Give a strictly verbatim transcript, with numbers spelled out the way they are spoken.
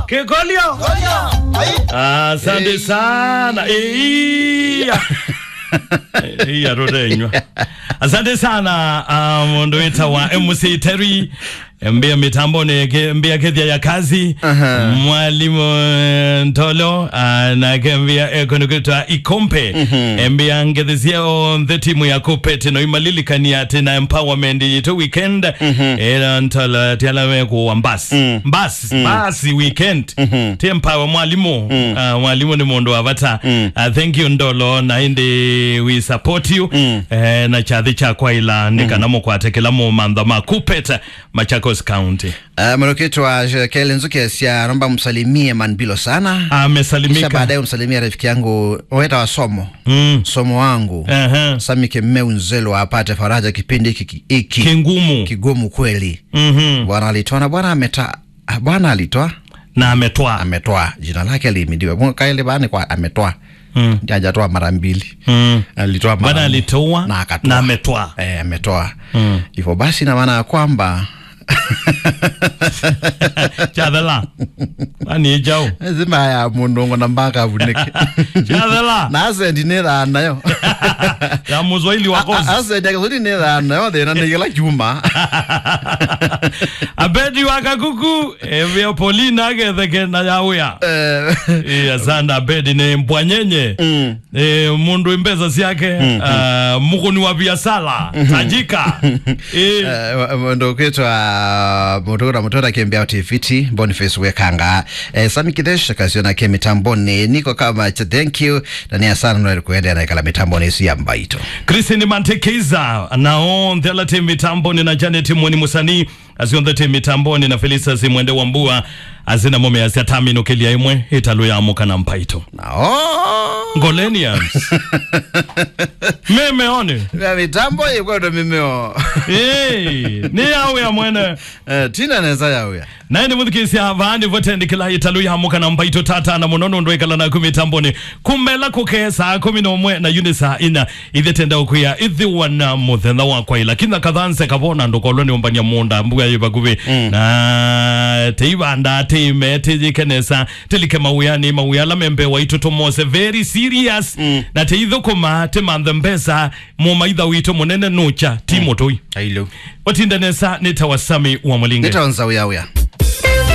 Kĩkolyo. Asante sana. Iya. Iya, tũtenywa. Asante sana, ah, mũndũ wĩtawa M C Terry. Mbĩa mĩtambonĩ, ke-, mbĩa kethia ya kazi. Aha. Mwalimu, eh, Ntolo, ah, nake mbĩa, eh, kũndũ kwĩtwa Ikompe. Mhm. Mbĩa ngethesye onthe timu ya Kupet no imalilikania atĩ na empowerment yitũ weekend. Mhm. Ĩla Ntolo tiala wekũwa mbasi. Mm. Mbasi, mm, mbasi weekend. Mhm. Ti empower mwalimu. Mm. Ah, mwalimu nĩ mũndũ wa vata. Mm. Ah, thank you Ndolo, na ĩndĩ we support you. Mm. Eh, na kyathĩ kya kwaĩla nĩ, mm, kana mũkwate kĩla mũmantha ma Kupet, Machakos County. Ah, mwanakwetu wa Shekele Nzuke sya, naomba msalimie Manbilo sana. Amesalimika. Kisha baadaye umsalimie rafiki yangu, weta wa Somo. Mm. Somo wangu. Aha. Sami Kemeu Nzelu apate faraja kipindi hiki, hiki. Kingumu. Kigumu kweli. Mhm. Bwana alitoa na Bwana ameta-, ah, Bwana alitoa. Na ametoa. Ametoa. Jina lake lihimidiwe. Mwa kaili bani kwa ametoa. Mm. Hajatoa mara mbili. Mm. Alitoa mara Bwana moja. Alitoa na akatoa. Na ametoa. Eh, ametoa. Mm. Hivyo basi, na maana ya kwamba Chathela. Ani ijau. Zima ya mũndũ ngo na mbaka avunĩke. Chathela. Na asendi nĩ thaa nayo. Ya mũswahili wa kosi. A-, a-, asendi ya Kiswahili nĩ thaa nayo, thĩna nĩ kĩla kyuma. Abedi wa Kakuku, Evia Paulina agetheke na ya wĩa. Eh. Eh, asanda Abedi nĩ mbwanyenye. Mm. Eh, mũndũ mbesa syake, mm, ah, mũkũni wa biasala, mm-hmm, tajika. Eh. Eh, wa-, mũndũ ũkwĩtwa, mũndũ ũkwĩtwa Mũtũra Kĩmbĩa Tiviti, Boniface Wekanga, eh, Sami Kithesh, Kasiona ke mĩtambonĩ, niko kama cha, thank you, na nĩ asana no kuendelea na ikala mĩtambonĩ ĩsu ya mbaito. Christine Mantekeiza, na onthe ala te mĩtambonĩ na Janet Mweni Musani, Asu onthe te mĩtambonĩ na Felicitas Mwende wa Mbua, asina mũmea sya taminũkĩlya ĩmwe, ĩtalũ ya mũka na mpaito. Nao. Ngolenians. Mĩmeonĩ. Na mĩtambo ĩkwendwa mĩmeo. Ĩĩ, nĩ ya wĩa mwene. Eh, tina nesa ya wĩa. Na ĩndĩ mũthikĩsya, vaa nĩvo tendekela ĩtalũ ya mũka na mpaito tata na mũno nũndũ ĩkala naku mĩtambonĩ. Kumela kũke saa kũmi na ũmwe na yu nĩ saa ina. Ithe tenda ũkwĩa, ithiwa na mũthenya wa kwaĩla. Kinya kathanse kavona ndũkolwe nĩ ũmbania mũũnda, mbua yĩ vakuvĩ. Mm. Na teivanda, teime, teyĩke nesa, telike mawĩanĩ, mawĩa ala membe waitũ tũmose very serious. Mm. Na teithũkũma, temanthe mbesa, mũmaitha witũ mũnene nũkya, ti, mm, mũtũi. Ailo. Ũtinde nesa, nĩ ta wa Sami wa Mũlinge. Nĩ ta wa Nzau ya wĩa.